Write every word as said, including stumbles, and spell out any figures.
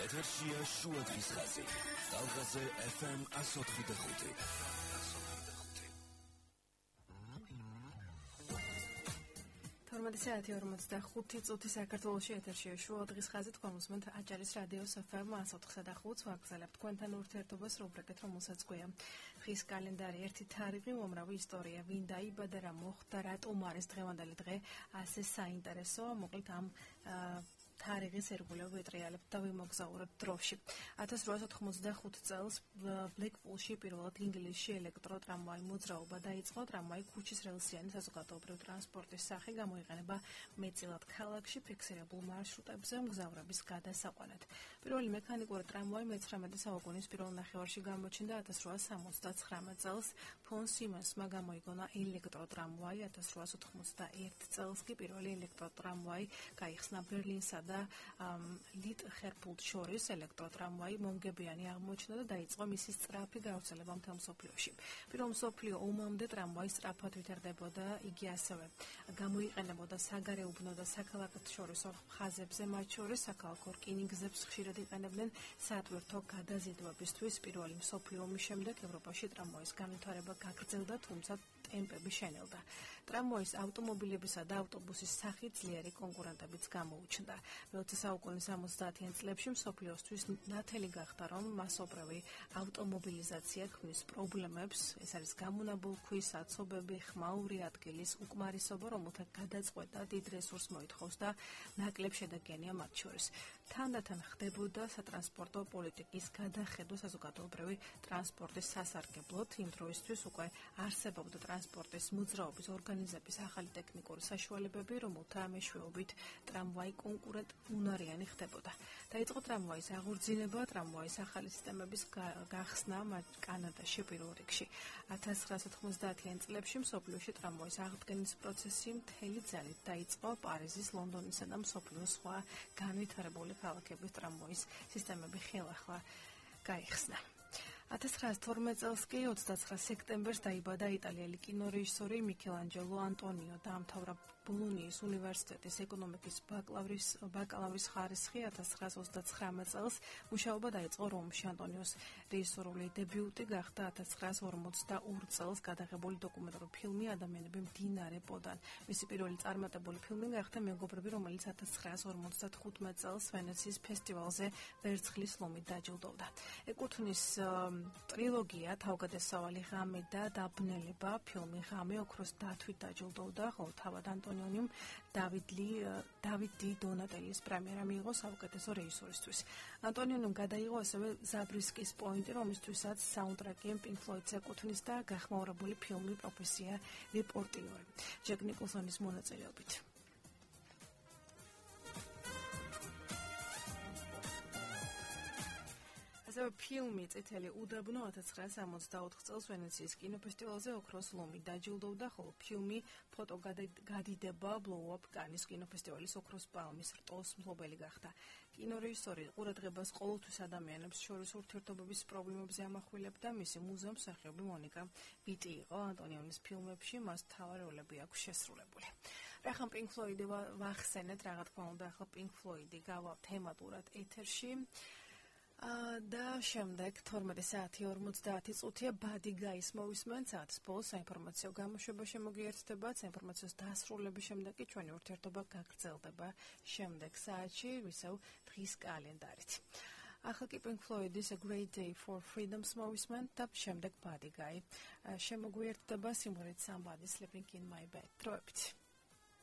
ეთერშია შუა დღის ხაზი. Talgaze F M one oh five. თორმეტი საათი ორმოცდახუთი წუთი საქართველოში ეთერშია შუა დღის ხაზი. თქვენ უსმენთ აჭარის რადიოს F M one oh five. ვაგრძელებთ თქვენთან ურთიერთობას რუბრიკით, რომელსაც გვია დღის კალენდარი, ერთი თარიღი, უამრავი ისტორია, ვინ დაიბადა, რა მოხდა, რატომ არის დღევანდელი დღე ასე საინტერესო. მოკლედ ამ თარიღის ერგულებ ვეტრიალებთ და ვიმოგზაურებთ დროში. ათას რვაასად ოცდახუთი წელს ბლეკპულში პირველად ინგლისში ელექტროტრამვაი მოძრაობა დაიწყო. ტრამვაი ქუჩის რელსიანი საზოგადოებრივი ტრანსპორტის სახე გამოიყენება მეტწილად ქალაქში ფიქსირებულ მარშრუტებზე მგზავრების გადასაყვანად. პირველი მექანიკური ტრამვაი მეცხრამეტე საუკუნის პირველ ნახევარში გამოჩნდა. ათას რვაასად სამოცდაცხრამეტ წელს ფონ სიმენსმა გამოიგონა ელექტროტრამვაი. ათას რვაასად ოცდაერთი წელს კი პირველი ელექტროტრამვაი გაიხსნა ბერლინსა და ლიტჰერფულდ შორის ელექტროტრამვაი მომგებიანი აღმოჩნდა და დაიწყო მისი სწრაფი გავრცელება მთელ მსოფლიოში. პირველ მსოფლიო ომამდე ტრამვაი სწრაფად ვითარდებოდა, იგი ასევე გამოიყენებოდა საგარეუბნო და საქალაქოთშორისო ხაზებზე, მათ შორის საქალაქო რკინიგზებს ხშირად იყენებდნენ სატვირთო გადაზიდვებისთვის. პირველი მსოფლიო ომის შემდეგ ევროპაში ტრამვაის განვითარება გაგრძელდა, თუმცა ტემპები შენელდა. ტრამვაის ავტომობილებისა და ავტობუსის სახით ძლიერი კონკურენტებიც გამოუჩნდა. მეოცე საუკუნის ორმოცდაათიან წლებში მსოფლიოსთვის ნათელი გახდა, რომ მასობრივი ავტომობილიზაცია ქმნის პრობლემებს. ეს არის გამონაბოლ ქვის აცობები, ხმაური ადგილის უკმარისობა, რომელთა გადაწყვეტა დიდ რესურსს მოითხოვს და ნაკლებ შედეგიანია მათ შორის. თანდათან ხდებოდა სატრანსპორტო პოლიტიკის გადახედვა საზოგადოებრივი ტრანსპორტის სასარგებლოდ. იმ დროისთვის უკვე არსებობდა ტრანსპორტის მოძრაობის ორგანიზების ახალი ტექნიკური საშუალებები, რომელთა მეშვეობით ტრამვაი კონკურენტ უნარიანი ხდებოდა. დაიწყო ტრამვაის აღორძინება, ტრამვაის ახალი სისტემების გახსნა კანადაში პირველ რიგში. ათას ცხრაასად ოცდაათიან წლებში მსოფლიოში ტრამვაის აღდგენის პროცესი მთელი ძალით დაიწყო. პარიზის, ლონდონისა და მსოფლიოს სხვა განვითარებული ქალაქების ტრამვაის სისტემები ხელახლა გაიხსნა. ათას ცხრაასად თორმეტ წელს კი ოცდაცხრა სექტემბერს დაიბადა იტალიელი კინორეჟისორი მიქელანჯელო ანტონიო. დაამთავრა ბოლონიის უნივერსიტეტის ეკონომიკის ბაკალავრის ბაკალავრის ხარისხი. ათას ცხრაასად ოცდაცხრამეტ წელს მუშაობა დაიწყო რომში. ანტონიოს რეჟისორული დებიუტი გახდა ათას ცხრაასად ორმოცდაორი წელს გადაღებული დოკუმენტური ფილმი ადამიანები მდინარე პოდან. მისი პირველი წარმატებული ფილმი გახდა მეგობრები, რომელიც ათას ცხრაასად ორმოცდახუთმეტ წელს ვენეციის ფესტივალზე ვერცხლის ლომით დაჯილდოვდა. ეკუთვნის ტრილოგია თავგადასავალი ღამე და დაბნელება. ფილმი ღამე ოქროს დათვით დაჯილდოვდა, ხოლო თავად ანტონიომ დავიდ ლი დავიდ დი დონატელის პრემიერა მიიღო საუკეთესო რეჟისორისთვის. ანტონიომ გადაიღო ასევე ზაბრისკის პოინტი, რომლისთვისაც საუნდტრეკი პინკ ფლოიდს ეკუთვნის და გახმაურებული ფილმი პროფესია რეპორტიორი ჯეკ ნიკოლსონის მონაწილეობით. ასევე ფილმი წითელი უდაბნო ათას ცხრაასად სამოცდაოთხ წელს ვენეციის კინოფესტივალზე ოქროს ლომით დაჯილდოვდა, ხოლო ფილმი ფოტო გადიდება Blow Up კანის კინოფესტივალის ოქროს პალმის რტოს მფლობელი გახდა. კინორეჟისორი ყურადღებას ყოველთვის ადამიანებს შორის ურთიერთობების პრობლემებზე ამახვილებდა. მისი მუზეუმსახიობი მონიკა ვიტი იყო. ანტონიონის ფილმებში მას მთავარი როლები აქვს შესრულებული. რახან პინკ ფლოიდი ვახსენეთ, რა თქმა უნდა, ახლა პინკ ფლოიდი გავა თემატურად ეთერში. და შემდეგ თორმეტი საათი ორმოცდაათი წუთია ბადი გაის მოვისმენთ. საათის ბოლოს საინფორმაციო გამოშვება შემოგიერთდება. საინფორმაციოს დასრულების შემდეგ კი ჩვენი ურთიერთობა გაგრძელდება შემდეგ საათში ისევ დღის კალენდარით. ახლა კი პინკ ფლოიდის A Great Day for Freedom's მოვისმენთ და შემდეგ ბადი გაი შემოგვიერთდება სიმღერით Somebody Sleeping in My Bed. დროებით.